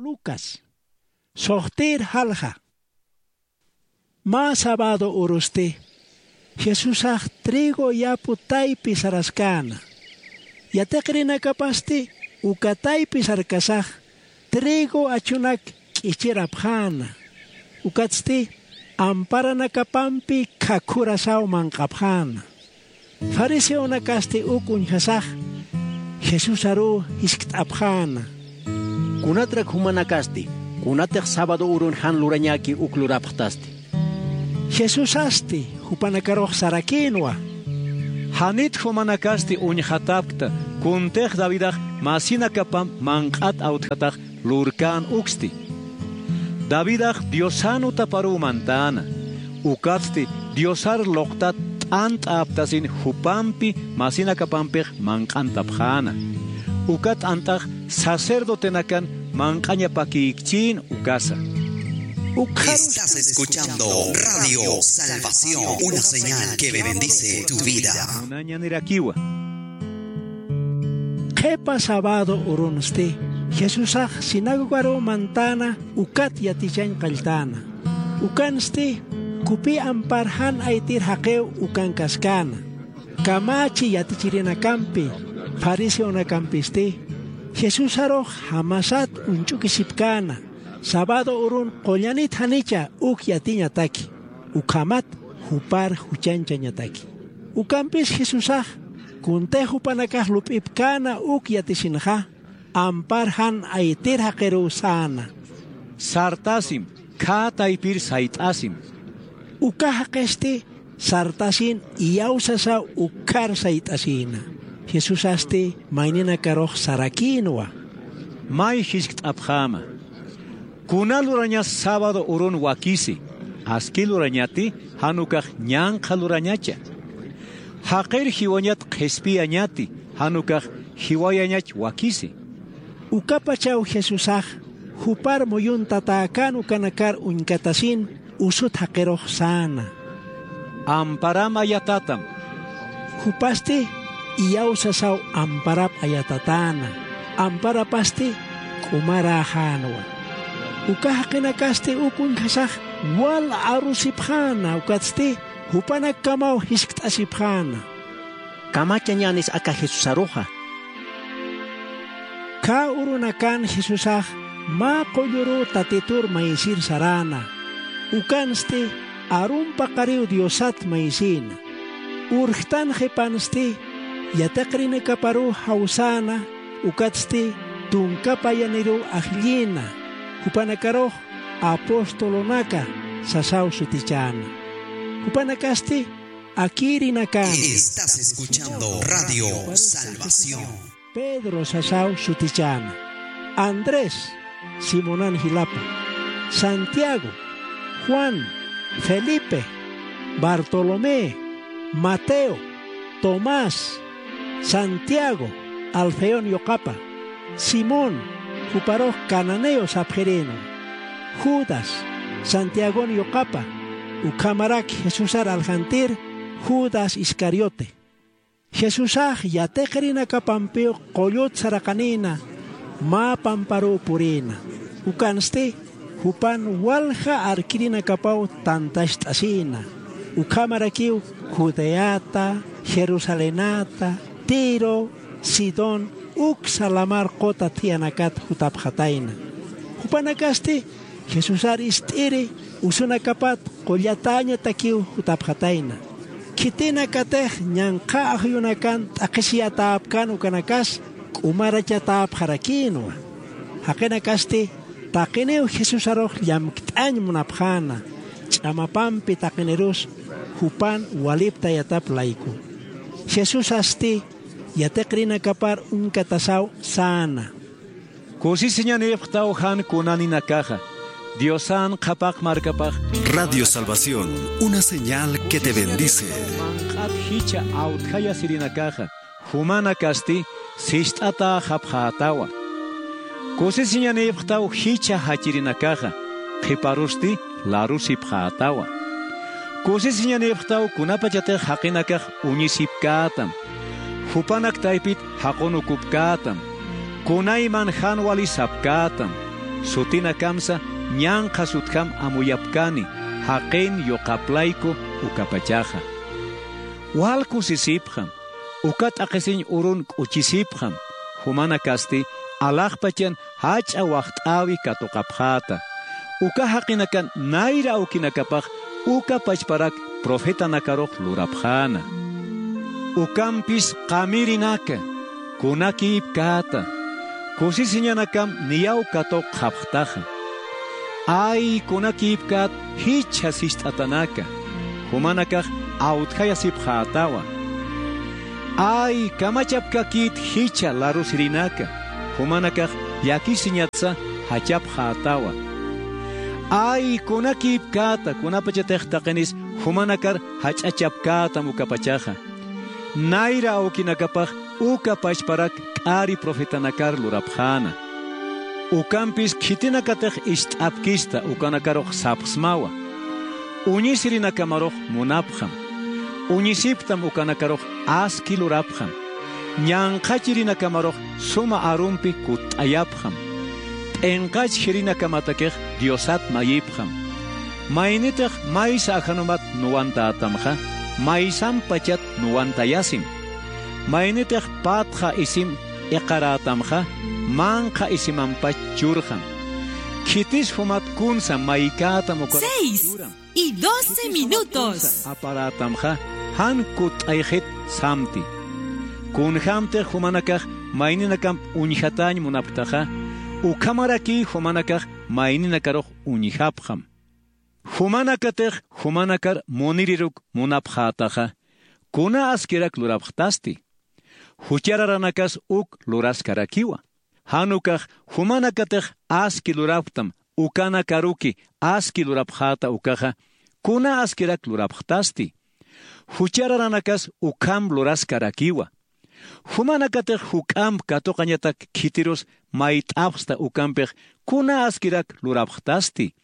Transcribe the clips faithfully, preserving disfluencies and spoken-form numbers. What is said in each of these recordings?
Lucas. Suxtïr jalja. Mä sabado urusti jesusax trigo yapu taypi saraskäna. Yatiqirinakapasti uka taypi sarkasax trigo achunak k'ichirapxäna. Ukatsti amparanakapampi khakhurasaw manq'apxäna. Fariseonakasti uk uñjasax jesusaruw jiskt'apxäna. Kunatrak jumanakasti kunatix sabado urun jan lurañäki uk lurapxtasti? Jesusasti jupanakarux sarakïnwa. Janit jumanakasti uñjatapkta kuntix davidax masinakapamp manq'at awtjatax lurkän uksti. Davidax diosan utaparuw mantäna. Ukatsti diosar luqtat t'ant'a aptasin jupampi masinakapampix manq'antapxäna. Uka t'ant'ax sacerdotenakan manq'añapakïkchïn ukasa. Ukxarus. Estás escuchando Radio Salvación, una señal que bendice tu vida. Munañanirakiwa. Qhipa sabado urunsti jesusax sinagogaruw mantäna ukat yatichañ qalltäna. Ukansti kupi ampar jan aytir jaqiw ukankaskäna. Kamächi yatichirinakampi fariseonakampisti jesusarux jamasat uñch'ukisipkäna sabado urun qullanit janicha uk yatiñataki ukhamat jupar juchañchañataki. Ukampis jesusax kuntix jupanakax lup'ipkäna uk yatisinxa ampar jan aytir jaqiruw säna. Sartasim khä taypir sayt'asim. Uka jaqisti sartasin iyawsasaw ukkhar sayt'asïna. Jesusasti mayninakarux sarakïnwa. May jiskt'apxäma. Kuna lurañas sábado urun wakisi, aski lurañati jan ukax ñanqha lurañacha. Jaqir jiwañat qhispiyañati, jan ukax jiwayañach wakisi. Ukapachaw jesusax jupar muyuntatäkän ukanakar uñkatasin usut jaqirux säna. Amparam ayatatam. Jupasti iyawsasaw amparap ayatatäna. Amparapasti k'umaräxänwa. Uka jaqinakasti uk uñjasax wal arusipxäna ukatsti jupanakkamaw jiskt'asipxäna. Kamachañänis aka jesusaruxa. Khä urunakan jesusax mä qulluruw tatitur maysir saräna. Ukansti arun paqariw diosat maysïna. Urjtan qhipansti yatiqrinakaparuw jawsäna. Ukatsti tunka payaniruw ajllïna. Jupanakarux apostolonaka sasaw sutichäna. Jupanakasti akïrinakäna. Estás escuchando Radio Salvación. Pedro sasaw sutichäna. Andrés, simonan jilapa, santiago, juan, felipe, bartolomé, mateo, tomás, santiago, alfeon yuqapa, simón, juparux cananeo sapxirïnwa, judas, santiagon yuqapa, ukhamarak jesusar aljantir judas iscariote. Jesusax yatiqirinakapampiw qullut saraqanïna mä pamparuw purïna. Ukansti jupan walja arkirinakapaw tantacht'asïna. Ukhamarakiw judeata, jerusalenata, tiro, sidón, uksa lamar quta thiyanakat jutapxatayna. Jupanakasti jesusar ist'iri usunakapat qullatäñatakiw jutapxatayna. Khitinakatix ñanqha ajllunakan t'aqhisiyatäpkän ukanakas k'umarachatäpxarakïnwa. Jaqinakasti taqiniw jesusarux llamkt'añ munapxäna. Ch'amapampi taqinirus jupan waliptayatap layku. Jesusasti yatiqrinakapar uñkatasaw säna. Kusisiñanïpxtaw jan kunaninakaxa diosan qhapaq markapax. Radio Salvación, una señal que te bendice. Manq'at jichha awtjayasirinakaxa jumanakasti sist'atäxapxätawa. Kusisiñanïpxtaw jichha jachirinakaxa qhiparusti larusipxätawa. Kusisiñanïpxtaw kunapachatix jaqinakax uñisipkätam, jupanak taypit jaqunukupkätam, kunayman jan wali sapkätam. sutinakamsa ñanqhas utjam amuyapkani, jaqin yuqaplayku ukapachaxa. Wal kusisipxam, uka t'aqhisiñ urun k'uchisipxam, jumanakasti alaxpachan jach'a waxt'äwi katuqapxäta. Uka jaqinakan nayra awkinakapax uka pachparak profetanakarux lurapxäna. Ukampis qamirinaka, kunakïpkäta, kusisiñanakam niyaw katuqxapxtaxa. Ay, kunakïpkät jichha sist'atanaka, jumanakax awtjayasipxätawa. Ay, kamachapkakït jichha larusirinaka, jumanakax llakisiñatsa jachapxätawa. Ay, kunakïpkäta, kunapachatix taqinis jumanakar jach'achapkätam ukapachaxa. Nayra awkinakapax uka pachparak k'ari profetanakar lurapxäna. Ukampis khitinakatix ist'apkista ukanakarux sapxsmawa. Uñisirinakamarux munapxam. Uñisipktam ukanakarux aski lurapxam. Ñanqhachirinakamarux suma arumpi kutt'ayapxam. P'inqachjirinakamatakix Diosat mayipxam. Maynitix maysa ajanumat nuwantätamxa, maysampachat nuwantayasim. Maynitix patxa isim iqarätamxa, manqha isimampach churxam. Khitis jumat kunsa maykätam ukaruxa Seis churam. Y doce Khitis jumat minutos. Kunsa aparätamxa, jan kutt'ayxit samti. Kunjämtix jumanakax mayninakamp uñjatäñ munapktaxa, ukhamaraki jumanakax mayninakarux uñjapxam. Jumanakatix jumanakar muniriruk munapxätaxa, kuna askirak lurapxtasti. Juchararanakas uk luraskarakiwa. Jan ukax jumanakatix aski lurapktam, ukanakaruki aski lurapxäta ukaxa, kuna askirak lurapxtasti. Juchararanakas ukham luraskarakiwa. Jumanakatix juk'amp katuqañatak khitirus mayt'apxsta ukampix kuna askirak lurapxtasti.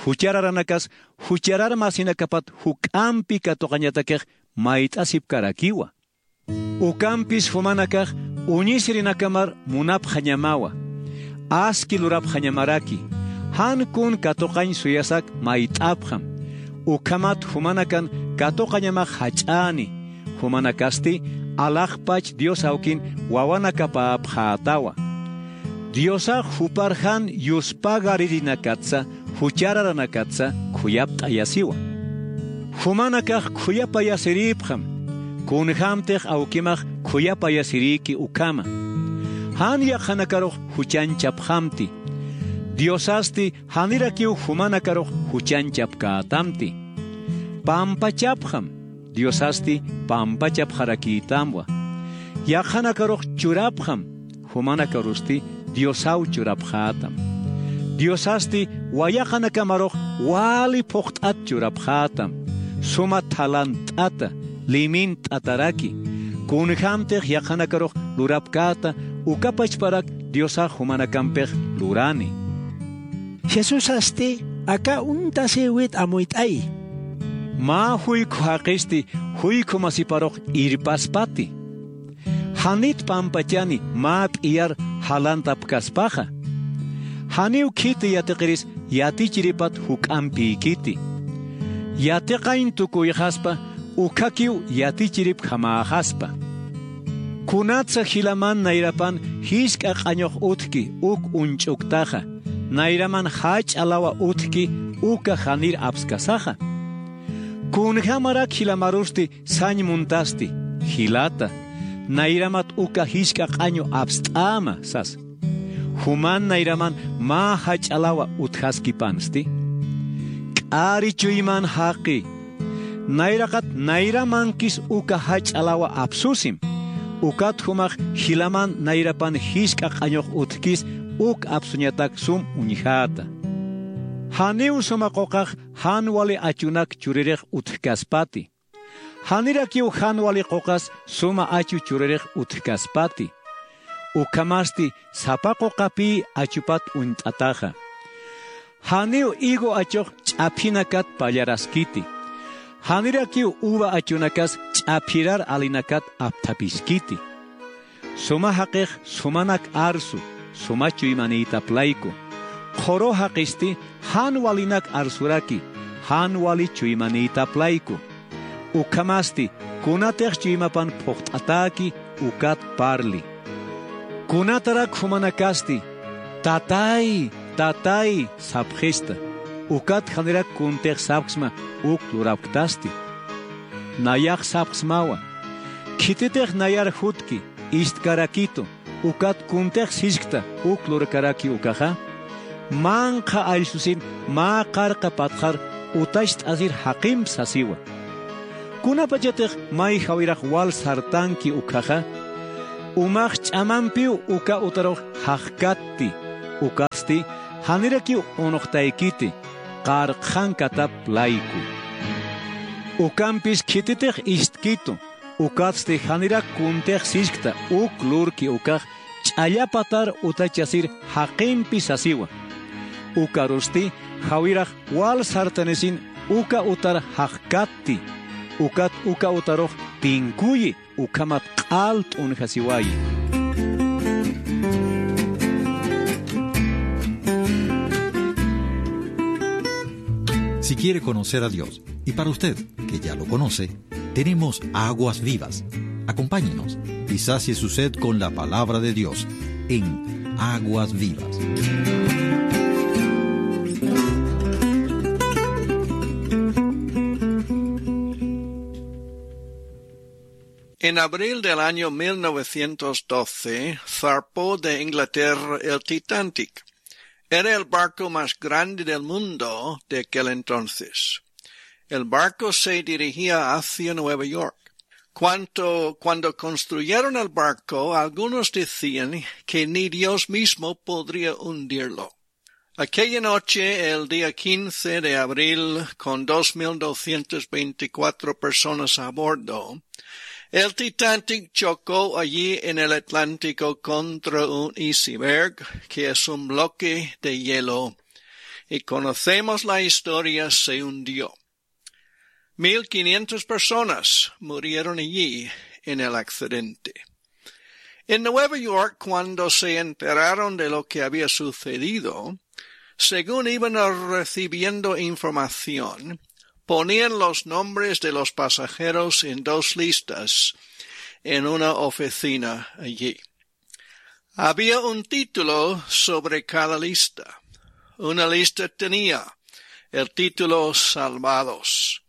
Juchararanakas jucharar masinakapat juk'ampi katuqañatakix mayt'asipkarakiwa. Ukampis jumanakax uñisirinakamar munapxañamawa, aski lurapxañamaraki, jan kun katuqañ suyasak mayt'apxam, ukhamat jumanakan katuqañamax jach'äni, jumanakasti alaxpach Dios awkin wawanakapäpxätawa. Diosax jupar jan yuspagaririnakatsa, juchararanakatsa khuyapt'ayasiwa. Jumanakax khuyapayasirïpxam, kunjämtix awkimax khuyapayasirïki ukhama. Jan yaqhanakarux juchanchapxamti. Diosasti janirakiw jumanakarux juchanchapkätamti. Pampachapxam, Diosasti pampachapxarakïtamwa. Yaqhanakarux churapxam, jumanakarusti Diosaw churapxätam. Diosasti wayaqanakamarux wali phuqt'at churapxätam, suma thalant'ata, limint'ataraki, kunjämtix yaqhanakarux lurapkäta, uka pachparak Diosax jumanakampix lurani. Jesusasti aka uñtasïwit amuyt'ayi. Mä juykhu jaqisti juykhu masiparux irpaspati. Janit pampachani mä p'iyar jalantapkaspaxa. Janiw khiti yatiqiris yatichiripat juk'ampïkiti. Yatiqañ tukuyxaspa, ukhakiw yatichiripjamäxaspa. Kunatsa jilaman nayrapan jisk'a q'añux utjki uk uñch'uktaxa, nayraman jach'a lawa utjki uka janir apskasaxa. Kunjämarak jilamarusti sañ muntasti, jilata, nayramat uka jisk'a q'añu apst'äma sasa. Juman nayraman mä jach'a lawa utjaskipansti. K'ari chuyman jaqi. Nayraqat nayramankis uka jach'a lawa apsusim. Ukat jumax jilaman nayrapan jisk'a q'añux utjkis uk apsuñatak sum uñjäta. Janiw suma quqax jan wali achunak churirix utjkaspati. Janirakiw jan wali quqas suma achu churirix utjkaspati. Ukhamasti sapa quqapï achupat uñt'ataxa. Janiw higo achux ch'aphinakat pallaraskiti. Janirakiw uva achunakas ch'aphirar alinakat apthapiskiti. Suma jaqix sumanak arsu, suma chuymanïtap layku. Qhuru jaqisti jan walinak arsuraki, jan wali chuymanïtap layku. Ukhamasti kunatix chuymapan phuqt'atäki, ukat parli. Kunatarak jumanakasti: "Tatay, tatay", sapxista, ukat janirak kuntix sapxsma uk lurapktasti. Nayax sapxsmawa: "Khititix nayar jutki, istkarakitu, ukat kuntix siskta uk lurkaraki ukaxa, manqha allsusin mä qarqa patxar utacht'asir jaqimp sasiwa. Kunapachatix may jawirax wal sartanki ukkhaxa, umax ch'amampiw uka utarux jaqkatti, ukatsti janirakiw unuqtaykiti, qarqxankatap layku. Ukampis khititix istkitu, ukatsti janirak kuntix siskta uk lurki ukax ch'allapatar utachasir jaqimpi sasiwa. Ukarusti jawirax wal sartanisin uka utar jaqkatti, ukat uka utarux tinkuyi, ukhamat q'al t'unjasiwayi". Si quiere conocer a Dios, y para usted, que ya lo conoce, tenemos aguas vivas. Acompáñenos y sacie su sed con la palabra de Dios en Aguas Vivas. En abril del año mil novecientos doce, zarpó de Inglaterra el Titanic. Era el barco más grande del mundo de aquel entonces. El barco se dirigía hacia Nueva York. Cuanto, cuando construyeron el barco, algunos decían que ni Dios mismo podría hundirlo. Aquella noche, el día quince de abril, con dos mil doscientas veinticuatro personas a bordo, el Titanic chocó allí en el Atlántico contra un iceberg, que es un bloque de hielo, y conocemos la historia, se hundió. Mil quinientas personas murieron allí en el accidente. En Nueva York, cuando se enteraron de lo que había sucedido, según iban recibiendo información, ponían los nombres de los pasajeros en dos listas en una oficina allí. Había un título sobre cada lista. Una lista tenía el título Salvados.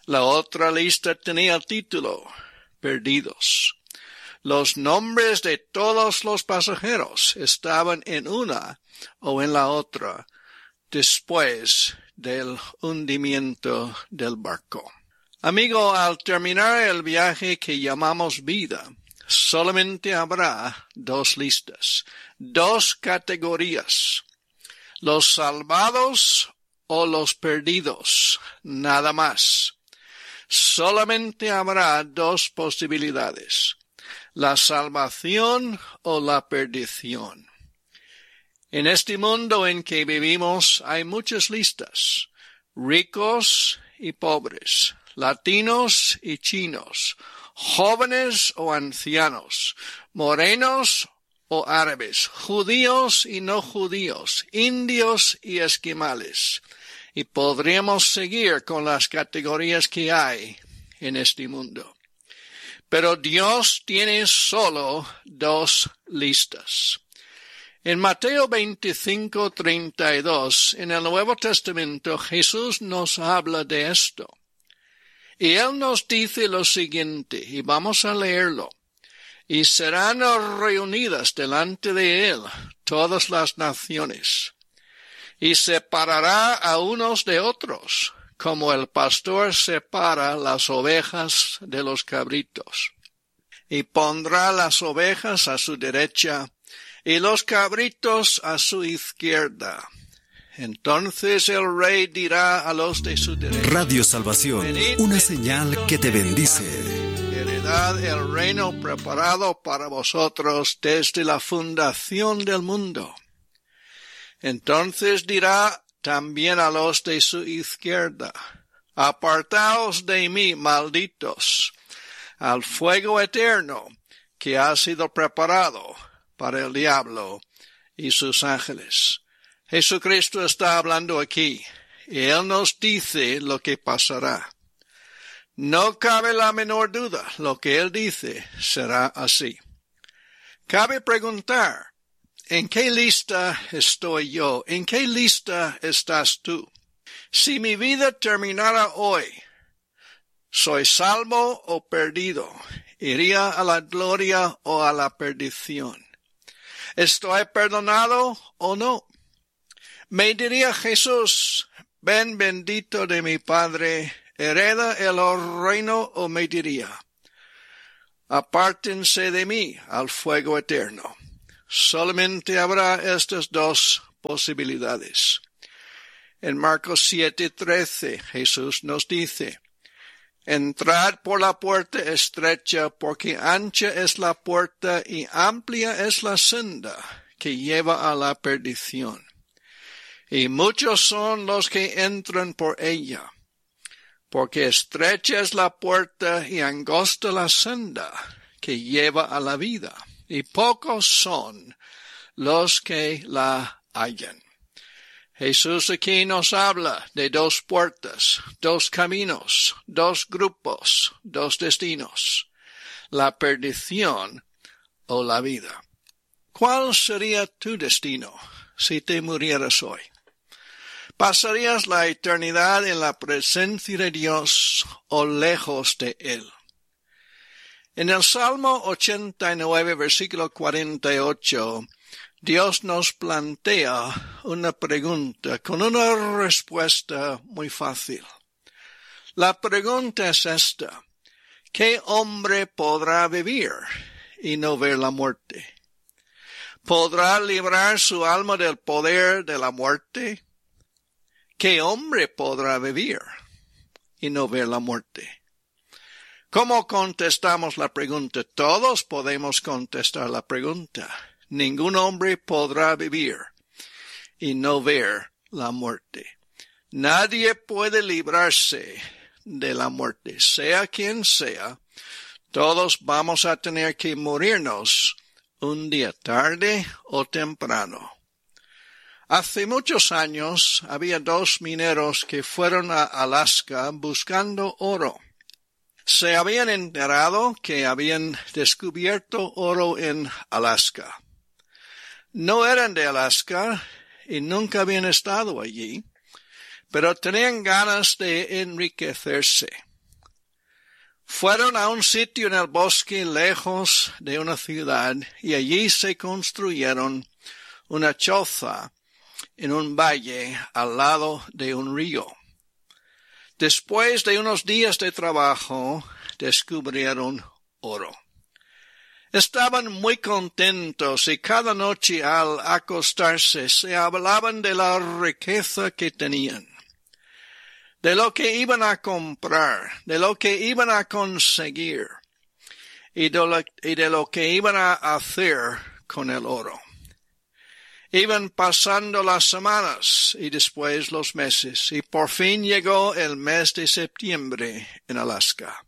La otra lista tenía el título Perdidos. Los nombres de todos los pasajeros estaban en una o en la otra después del hundimiento del barco. Amigo, al terminar el viaje que llamamos vida, solamente habrá dos listas, dos categorías: los salvados o los perdidos, nada más. Solamente habrá dos posibilidades: la salvación o la perdición. En este mundo en que vivimos hay muchas listas: ricos y pobres, latinos y chinos, jóvenes o ancianos, morenos o árabes, judíos y no judíos, indios y esquimales. Y podríamos seguir con las categorías que hay en este mundo. Pero Dios tiene solo dos listas. En Mateo veinticinco treinta y dos, en el Nuevo Testamento, Jesús nos habla de esto. Y Él nos dice lo siguiente, y vamos a leerlo: "Y serán reunidas delante de Él todas las naciones, y separará a unos de otros, como el pastor separa las ovejas de los cabritos. Y pondrá las ovejas a su derecha y los cabritos a su izquierda. Entonces el rey dirá a los de su derecha: Radio Salvación, una señal que te bendice. Heredad el reino preparado para vosotros desde la fundación del mundo". Entonces dirá también a los de su izquierda: "Apartaos de mí, malditos, al fuego eterno que ha sido preparado para el diablo y sus ángeles". Jesucristo está hablando aquí, y Él nos dice lo que pasará. No cabe la menor duda, lo que Él dice será así. Cabe preguntar, ¿en qué lista estoy yo? ¿En qué lista estás tú? Si mi vida terminara hoy, ¿soy salvo o perdido? ¿Iría a la gloria o a la perdición? ¿Estoy perdonado o no? ¿Me diría Jesús, "Ven bendito de mi Padre, hereda el reino"? ¿O me diría, "Apártense de mí al fuego eterno"? Solamente habrá estas dos posibilidades. En Marcos siete trece, Jesús nos dice, "Entrad por la puerta estrecha, porque ancha es la puerta y amplia es la senda que lleva a la perdición, y muchos son los que entran por ella, porque estrecha es la puerta y angosta la senda que lleva a la vida, y pocos son los que la hallan". Jesús aquí nos habla de dos puertas, dos caminos, dos grupos, dos destinos: la perdición o la vida. ¿Cuál sería tu destino si te murieras hoy? ¿Pasarías la eternidad en la presencia de Dios o lejos de Él? En el Salmo ochenta y nueve, versículo cuarenta y ocho, Dios nos plantea una pregunta con una respuesta muy fácil. La pregunta es esta: ¿qué hombre podrá vivir y no ver la muerte? ¿Podrá librar su alma del poder de la muerte? ¿Qué hombre podrá vivir y no ver la muerte? ¿Cómo contestamos la pregunta? Todos podemos contestar la pregunta. Ningún hombre podrá vivir y no ver la muerte. Nadie puede librarse de la muerte. Sea quien sea, todos vamos a tener que morirnos un día, tarde o temprano. Hace muchos años había dos mineros que fueron a Alaska buscando oro. Se habían enterado que habían descubierto oro en Alaska. No eran de Alaska y nunca habían estado allí, pero tenían ganas de enriquecerse. Fueron a un sitio en el bosque, lejos de una ciudad, y allí se construyeron una choza en un valle al lado de un río. Después de unos días de trabajo, descubrieron oro. Estaban muy contentos y cada noche al acostarse se hablaban de la riqueza que tenían, de lo que iban a comprar, de lo que iban a conseguir y de lo, y de lo que iban a hacer con el oro. Iban pasando las semanas y después los meses, y por fin llegó el mes de septiembre en Alaska.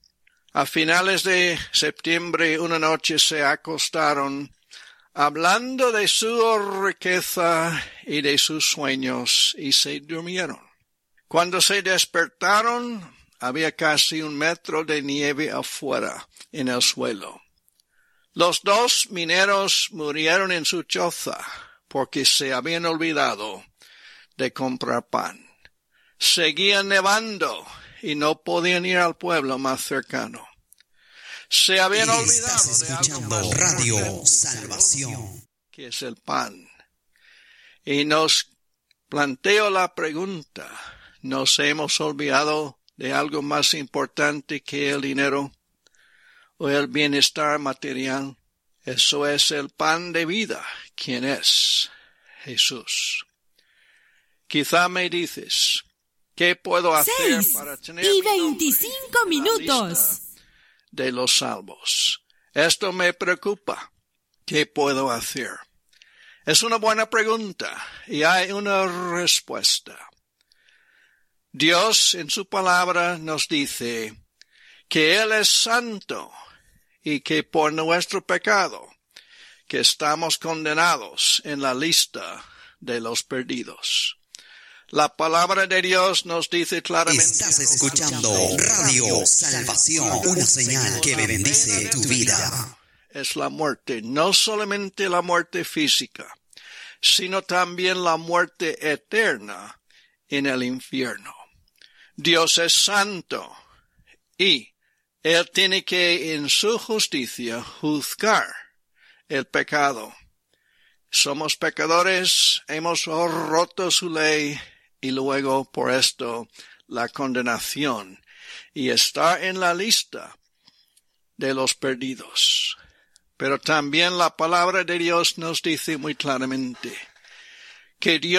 A finales de septiembre, una noche se acostaron hablando de su riqueza y de sus sueños, y se durmieron. Cuando se despertaron, había casi un metro de nieve afuera, en el suelo. Los dos mineros murieron en su choza porque se habían olvidado de comprar pan. Seguía nevando y no podían ir al pueblo más cercano. Se habían olvidado de algo más importante, que es el pan. Y nos planteo la pregunta: ¿nos hemos olvidado de algo más importante que el dinero o el bienestar material? Eso es el pan de vida, quien es Jesús. Quizá me dices, ¿qué puedo hacer para tener mi nombre en la lista de los salvos? Esto me preocupa. ¿Qué puedo hacer? Es una buena pregunta y hay una respuesta. Dios en su palabra nos dice que Él es santo y que por nuestro pecado, que estamos condenados en la lista de los perdidos. La palabra de Dios nos dice claramente: Estás escuchando Radio Salvación, una señal que bendice tu vida. Es la muerte, no solamente la muerte física, sino también la muerte eterna en el infierno. Dios es santo y Él tiene que, en su justicia, juzgar el pecado. Somos pecadores, hemos roto su ley y luego por esto la condenación. Y está en la lista de los perdidos. Pero también la palabra de Dios nos dice muy claramente que Dios